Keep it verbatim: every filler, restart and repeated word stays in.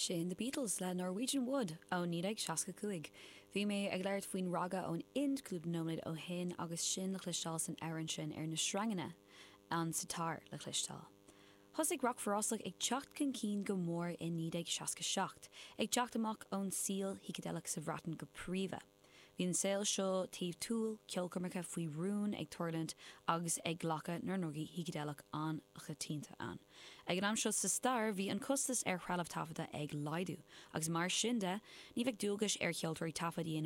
Sin The Beatles le Norwegian Wood ó naoi déag seasca cúig. Bhí mé ag labhairt faoin raga ón Ind cúpla nóiméad ó shin agus sin le cloisteáil san amhrán sin ar na sreanganna an sitar le cloisteáil. Thosaigh rac forásach ag teacht chun cinn go mór i naoi déag seasca seacht, ag teacht amach ón saol shícideileach sa Bhreatain go príomha. Bhí an saol seo taobh túil ceolchoirmeacha faoi rún ag tarlúint agus ag glacadh na ndrugaí shícideileach an-choitianta ann. Ag an am seo sa stair bhí an costas ar threalamh taifeadta ag laghdú, agus mar sin de ní bheadh dualgas ar cheoltóirí taifead a dhéanamh